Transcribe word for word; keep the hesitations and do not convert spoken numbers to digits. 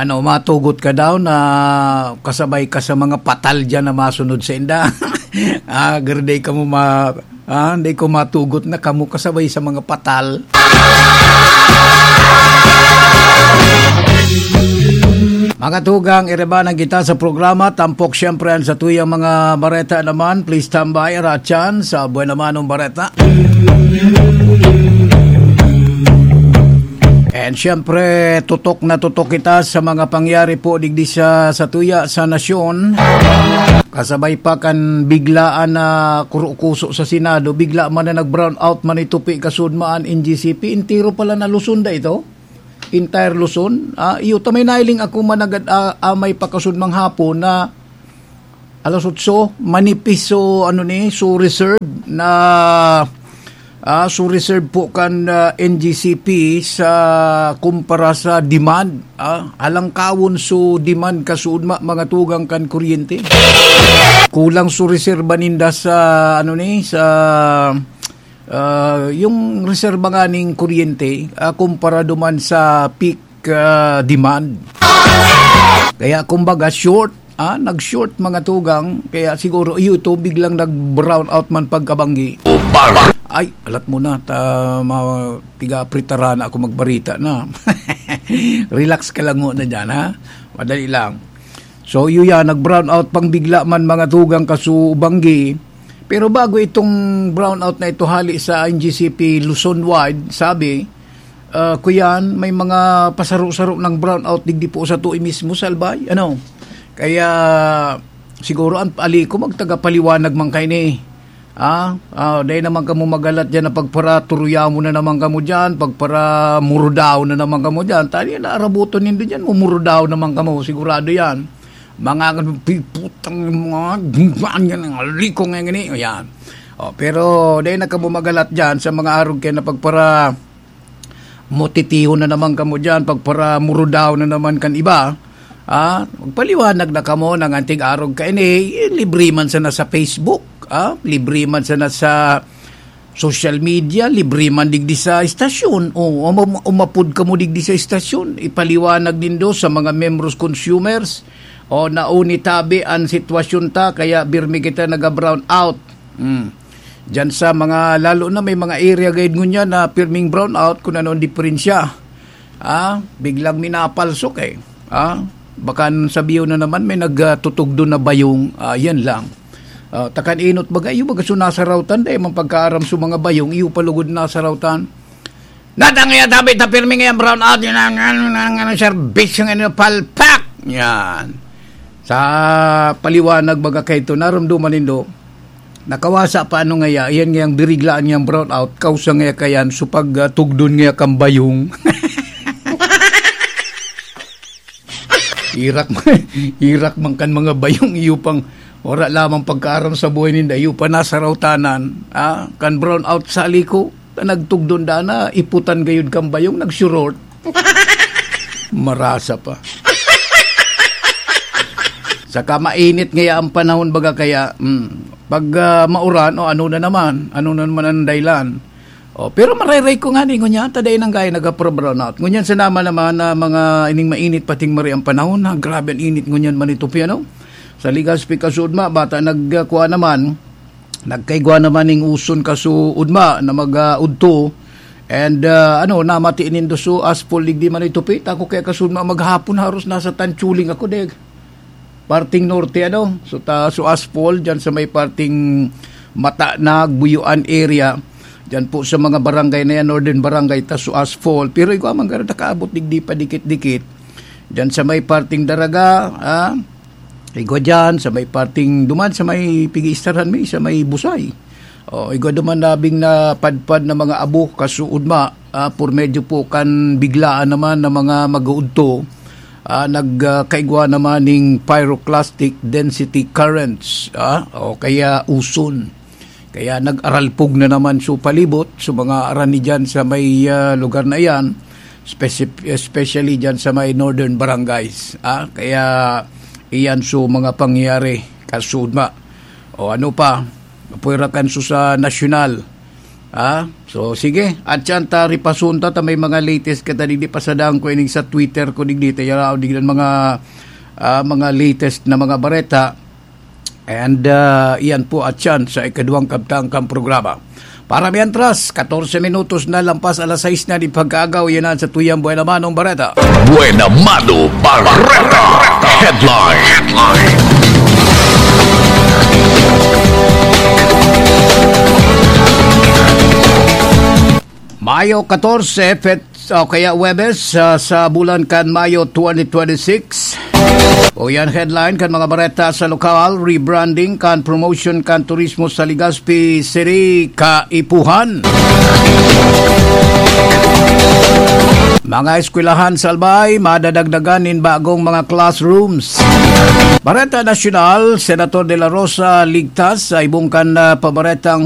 Ano, matugot ka daw na kasabay ka sa mga patal diyan na masunod sa inda. Ah, garday ka mo ma-, ah, hindi ko matugot na kamo kasabay sa mga patal. Mga tugang, iribanan kita sa programa. Tampok siyempre ang sa tuyang mga bareta naman. Please stand by, Ratchan, sa Buena Manong Bareta. And siyempre, tutok na tutok kita sa mga pangyari po digdi sa, sa tuya, sa nasyon. Kasabay pa kan biglaan na kurukuso sa Senado, bigla man na nag-brown out man itupi kasudmaan N G C P. Entero pala na Luzon da ito. Entire Luzon. Ah, iyo ta may nailing ako managad, ah, ah, may pakasudmang hapon na alas otso, manipis so, ano ni, so reserve na, ah, so reserve po kan, ah, N G C P sa kumpara sa demand. Ah, halangkawon so demand kasudma mga tugang kan kuryente. Kulang so reserba ninda sa, ano ni, sa, ah, yung reserba nga ning kuryente, ah, kumpara duman sa peak, ah, demand. Kaya kumbaga short, ah, nag-short mga tugang, kaya siguro iyo ito biglang nag-brown out man pagkabanggi. Ay, alat mo na, ta, ma-, tiga-apritaran ako magbarita na. Relax ka lang muna dyan, ha? Madali lang. So, iyo yan, nag-brown out pang bigla man mga tugang kasubanggi. Pero bago itong brown out na ito hali sa N G C P Luzon wide, sabi, ah, kuyan, may mga pasaro-saro ng brown out digdi po sa tuwi mismo, Salbay. Ano? Kaya, siguro ang ali ko, magtagapaliwanag man kayo ni. Ah, ah, dahil naman kamo magalat dyan na pagpara turuyaw mo na naman kamo dyan, pagpara murudaw na naman kamo dyan. Tali na arabuton nindo dyan, mumurudaw naman kamo, sigurado yan. Mga piputang mga yan, ang liko nga gani. O yan. O, pero dahil na kamo magalat dyan sa mga arog kayo na pagpara mutitihon na naman kamo dyan, pagpara murudaw na naman kan iba. Ah, magpaliwanag na kamo ng antig arog kaini, eh, libre man sana sa Facebook, ah, libre man sana sa social media, libre man digdi sa istasyon. O, uma-, umapod kamo digdi sa istasyon, ipaliwanag nindo sa mga membros consumers, o nauni tabi an sitwasyon ta, kaya birmi kita naga-brown out. Hmm. Diyan sa mga, lalo na may mga area gayud ngunyan na pirming brown out, kung ano ang diferensya. Ah, biglang minapalsok eh. Ah, baka sabiyon na naman may nagtutugdon na bayong, ah, yan lang. Ah, takan inot baga, iyo baga so nasarawtan, dahil mang pagkaaram sa mga bayong, iyo palugod nasarawtan. Natang iya tabi ta pirmi ngayang brown out, yun ang, ang, ang, ang serbisyo ngayon, palpak! Yan. Sa paliwanag baga kaito, narumduman nindo, nakawasa pa ano ngaya, iyan ngayang biriglaan niyang brown out, kausa ngaya kayan, so pag, ah, tugdon ngaya kang bayong. Irak man, irak man kan mga bayong iyo pang wala lamang pagkaaram sa buhay ninda, iyo pa nasarawtanan, ah, kan brown out sa liko, na nagtugdon da na, iputan gayud kan bayong, nagsurort. Marasa pa. Saka mainit ngaya ang panahon, baga kaya, mm, pag, ah, mauran, o ano na naman, ano na naman ang dahilan. O, pero marayray ko nga ni, ngunyan, ta dai nang gaya nagapro-brownout. Ngunyan, sa naman naman na mga ining mainit, pating mari ang panahon, ha? Grabe ang init ngunyan, manitupi, ano? Sa Legazpi, Kasudma, bata nagkuha naman, nagkaigwa naman ning uson kasuudma na mag, ah, udto. And, ah, ano, namati nindo so asphalt, digdi manitupi. Tako kaya Kasudma maghapon, haros nasa Tanchuling ako, deg. Parting norte, ano? So, ta, so asphalt, dyan sa may parting Mata na Buyuan area. Dyan po sa mga barangay na yan, Northern Barangay, ta so asphalt. Pero igwa man, gara nakaabot digdi pa dikit-dikit. Dyan sa may parting Daraga, ah, igwa dyan, sa may parting duman, sa may pigi-istarhan mi, sa may Busay. O, igwa duman nabing napadpad na mga abo, kasuudma, ah, por medyo po kan biglaan naman na mga mag-uudto, ah, nag, ah, kaigwa naman ning pyroclastic density currents, ah, o kaya uson. Kaya nag-aralpog na naman so palibot, so mga arani dyan sa may, ah, lugar na iyan, speci-, especially dyan sa may northern barangays, ah. Kaya iyan so mga pangyayari, kasuudma. O ano pa, pwera kan so sa nasyonal, Ah, so sige, at yan ta ripasunta ta may mga latest ka ta digdi, pasadaan ko ining sa Twitter ko digdi, ta yaraw digdi ang mga, ah, mga latest na mga bareta. And, ah, iyan po at yan sa ikaduwang kabtang kang programa. Para mientras, katorse minutos na lampas alas sais na di pagkaagaw, yan ang sa tuyang Buena Manong Bareta. Buena Mano Bareta Headline. Mayo katorse, Fet-, o kaya Huwebes, ah, sa bulan kan Mayo twenty twenty-six. O yan headline kan mga bareta sa lokal, rebranding kan promotion kan turismo sa Legazpi City, kaipuhan. Mga eskwelahan sa Albay, madadagdagan nin bagong mga classrooms. Bareta Nasyonal, Senator De La Rosa ligtas sa ibong kan, ah, pabaretang